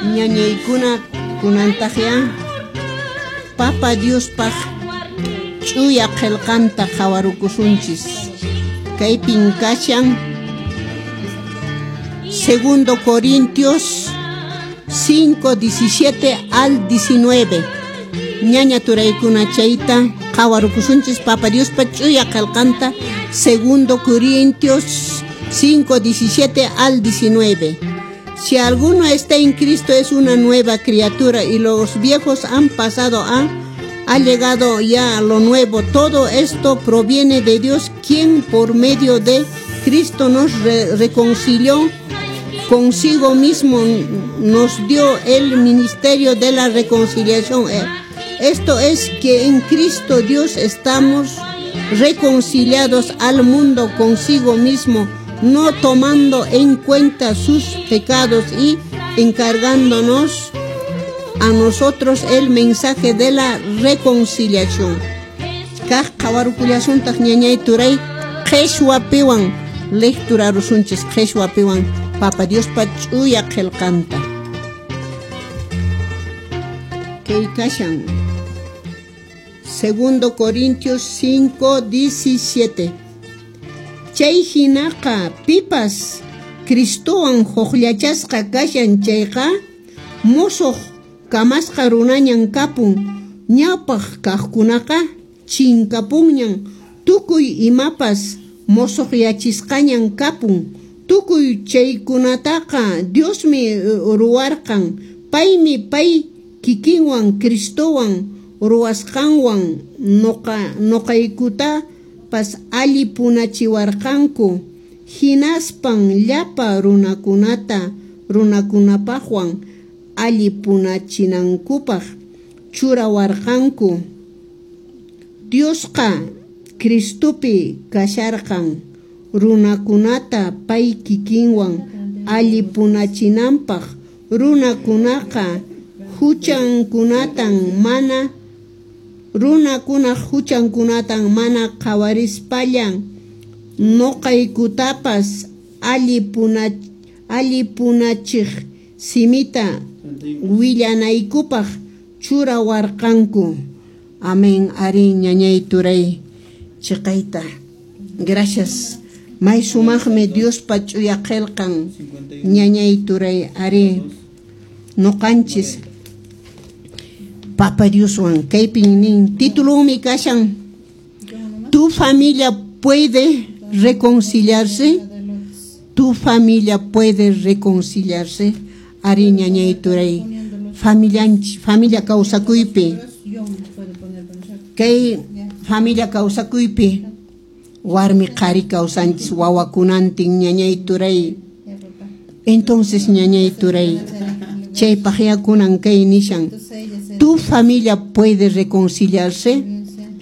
Ñañaykuna kunantaqya Papa Diospaq ch'uya qillqanta qhawarukusunchis. Kaypin kashan Segundo Corintios 5, 17 al 19. Ñaña turaykuna chayta qhawarukusunchis Papa Diospa ch'uya qillqanta Segundo Corintios 5, 17 al 19. Si alguno está en Cristo es una nueva criatura y los viejos han pasado ha llegado ya a lo nuevo. Todo esto proviene de Dios, quien por medio de Cristo nos reconcilió consigo mismo, nos dio el ministerio de la reconciliación. Esto es que en Cristo Dios estamos reconciliados al mundo consigo mismo, no tomando en cuenta sus pecados y encargándonos a nosotros el mensaje de la reconciliación. Kaq qhawarukullasuntaq ñañay turay qhishwapiwan lecturarusunchis qhishwapiwan Papa Diospa ch'uya qillqanta. Kay kashan Segundo Corintios 5, 17. Chay hinaqa pipas Cristowan hukllachasqa kashan chayqa musuq kamasqa runañan kapun, ñawpaq kaqkunaqa chinkapunñan, tukuy imapas musuqyachisqañan kapun, tukuy chaykunataqa Diosmi ruwarqan, paymi pay kikinwan Cristowan ruwasqanwan nuqaykutapas allipunachiwarqanku, hinaspan llapa runakunapaqwan allipunachinankupaq churawarqanku. Diosqa Cristopi kasharqan runakunata pay kikinwan allipunachinanpaq, runakunaqa huchankunatan mana qhawarispallan nuqaykutapas allipunachiq simita willanaykupaq churawarqanku. Amén. Ari ñañay turay chiqayta. Gracias. May sumaqmi Diospa ch'uya qillqan ñañay turay ari nuqanchis Papa Dioswan kaypin nin titulunmi kashan Tu familia puede reconciliarse. Tu familia puede reconciliarse. Ari ñañay turay familia kawsakuypi kay familia kawsakuypi warmi qhari kawsanchis wawakunantin ñañay turay. Entonces ñañay turay chaypaq yakunan kay nishan Tu familia puede reconciliarse.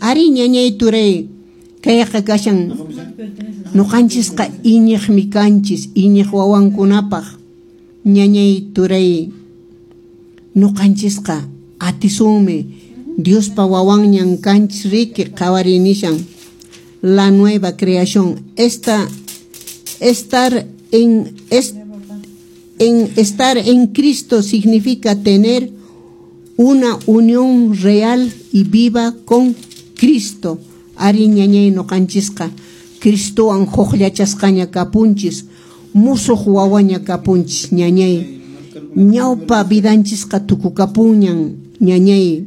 Ari ñañay turay kayqa kashan nuqanchisqa iñiqmi kanchis iñiq wawankunapaq ñañay turay nuqanchisqa atisunmi Diospa wawanñan kanchis riki qhawari nishan la nueva creación. Estar en Cristo significa tener una unión real y viva con Cristo. Ari ñañay nuqanchisqa Cristowan hukllachasqaña kapunchis, musuq wawaña kapunchis ñañay. Ñawpa vidanchisqa tukukapunñan ñañay.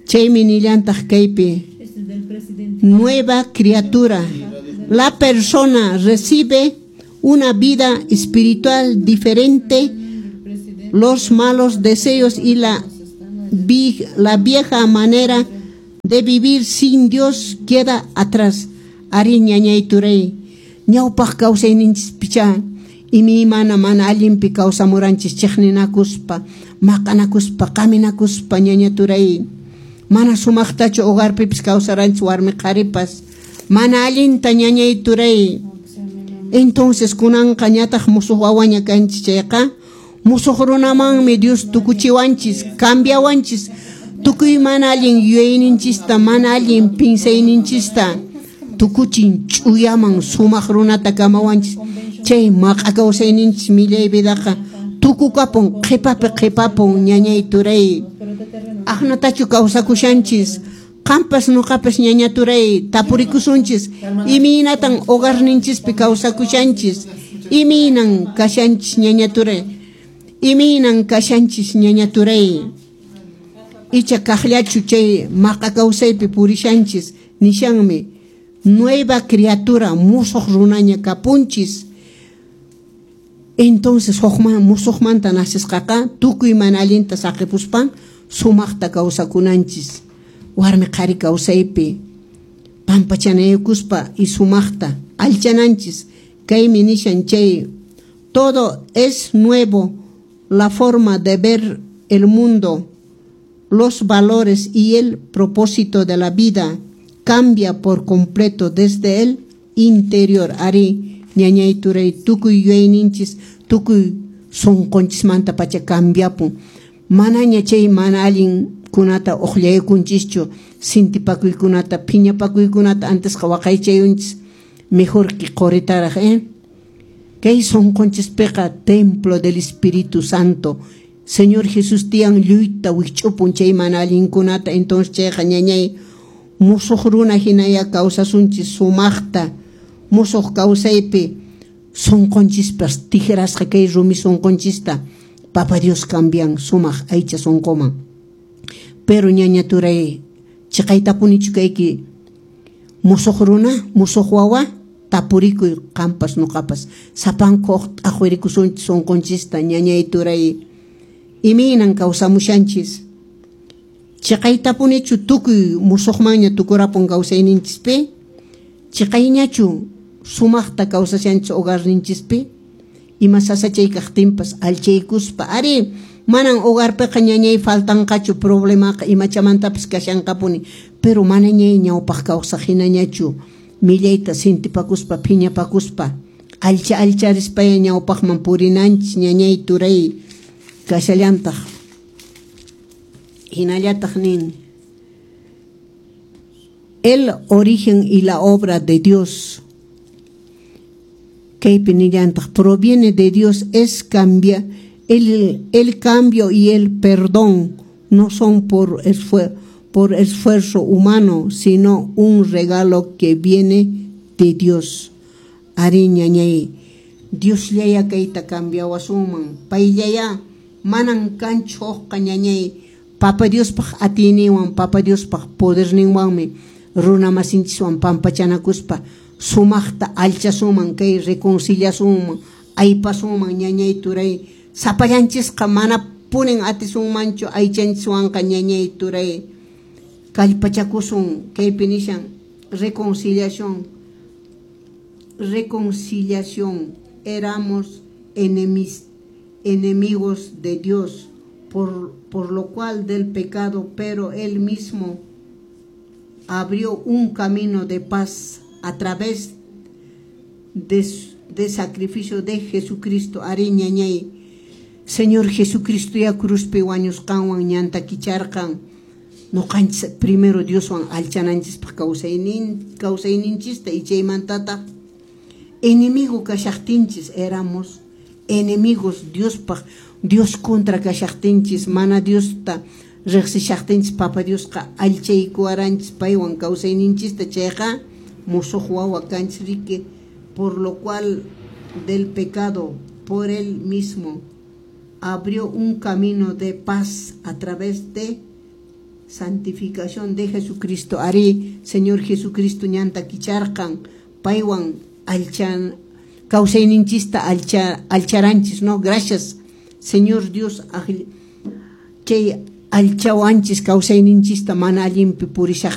Chaymi nillantaq kaypi nueva criatura. La persona recibe una vida espiritual diferente, los malos deseos y la vieja manera de vivir sin Dios queda atrás. Ari ñañay turay ñawpaq kawsayninchis picha imaymana mana allinpi kawsamuranchis chiqninakuspa maqanakuspa qaminakuspa ñaña turay mana sumaqtachu hogarpipis kawsaranchis warmi qharipas mana allinta ñañay turay. Entonces kunanqa ñataq musuq wawaña kanchis chayqa musuq runamanmi Dios tukuchiwanchis cambiawanchis tukuy mana allin yuyayninchista mana allin pinsayninchista tukuchin ch'uyaman sumaq runata kamawanchis chay maqa kawsayninchis millay vidaqa Tukukapun, qhipapi qhipapun, ñañay turay. Aqnatachu kawsakushanchis? Qampas nuqapas, ñaña turay, tapurikusunchis. Imaynatan hogarninchispi kawsakushanchis? Imaynan kashanchis, ñaña turay? Imaynan kashanchis, ñaña turay? Icha kaqllachu chay maqa kawsaypi purishanchis? Nishanmi, nueva criatura, musuq runaña kapunchis. Entonces hukman musuqmanta nacesqaqa tukuy mana allinta saqipuspan sumaqta kawsakunanchis. Warmi qhari kawsaypi pampachanaykuspa y sumaqta alchananchis. Kaymi nishan chay todo es nuevo, la forma de ver el mundo, los valores y el propósito de la vida cambia por completo desde el interior. Ari, ñañay turay, tukuy yuyayninchis, tukuy sunqunchismanta pacha cambiapun. Manaña chay mana allinkunata uqllaykunchischu, sintipakuykunata, phiñapakuykunata antesqa waqaychayunchis, mejor que quritaraq, ¿eh? Kay sunqunchispiqa templo del Espíritu Santo. Señor Jesús tiyan lluyta wikch'upun chay mana allinkunata. Entonces chayqa, ñañay, musuq runa hinaya kawsasunchis sumaqta, musuq kawsaypi sunqunchispas tikrasqa kay rumi sunqunchista Papa Dios cambian sumaq aycha sunquman. Pero, ñaña turay, chiqaytapunichu kayki musuq runa, musuq wawa? Tapurikuy qampas nuqapas. Sapanku t'aqwirikusunchis sunqunchista, ñañay turay. Imaynan kawsamushanchis? Chiqaytapunichu tukuy musuqmanña tukurapun kawsayninchispi? Chiqayñachu sumaqta kawsashanchis hogarninchispi? Ima sasachay kaqtinpas alchaykuspa. Ari, manan hogarpiqa, ñañay, faltanqachu problemaqa, imachamantapas kashanqapuni, pero manañay ñawpaq kawsaq hinañachu millayta sintipakuspa, phiñapakuspa, alcha alcharispaya ñawpaqman purinanchis, ñañay turay. Kashallantaq hinallataq nin el origen y la obra de Dios. Kaypi nillantaq proviene de Dios, es cambia el cambio y el perdón no son por esfuerzo humano, sino un regalo que viene de Dios. Ari, ñañay, Dios llaya kayta cambiawasunman, payllaya, manan kanchu hukqa, ñañay. Papa Diospaq atiyninwan, Papa Diospaq poderninwanmi runa masinchiswan pampachanakuspa sumaqta alchasunman, kay reconciliasunman, aypasunman, ñañay turay. Sapallanchisqa mana punin atisunmanchu aychanchiswanqa, ñañay turay. Kallpachakusun. Kaypi nishan reconciliación, reconciliación. Éramos enemigos de Dios por lo cual del pecado, pero él mismo abrió un camino de paz a través de sacrificio de Jesucristo. Ari, ñañay, Señor Jesucristo ya cruzpi wañusqanwan ñanta kicharqan nuqanchis primero Dioswan alchananchispaq kawsaynin kawsayninchista y chaymantataq enemigo kashaqtinchis, éramos enemigos Diospaq, Dios contra kashaqtinchis, mana Diosta riqsishaqtinchis, Papa Diosqa allchaykuwaranchis paywan kawsayninchista. Chayqa musuq wawa kanchis riki. Por lo cual del pecado, por él mismo abrió un camino de paz a través de santificación de Jesucristo. Ari, Señor Jesucristo ñanta kicharqan paywan alchan kawsayninchista alcha alcharanchis, no? Gracias, Señor Dios, chay alchawanchis kawsayninchista mana allinpi purishaq.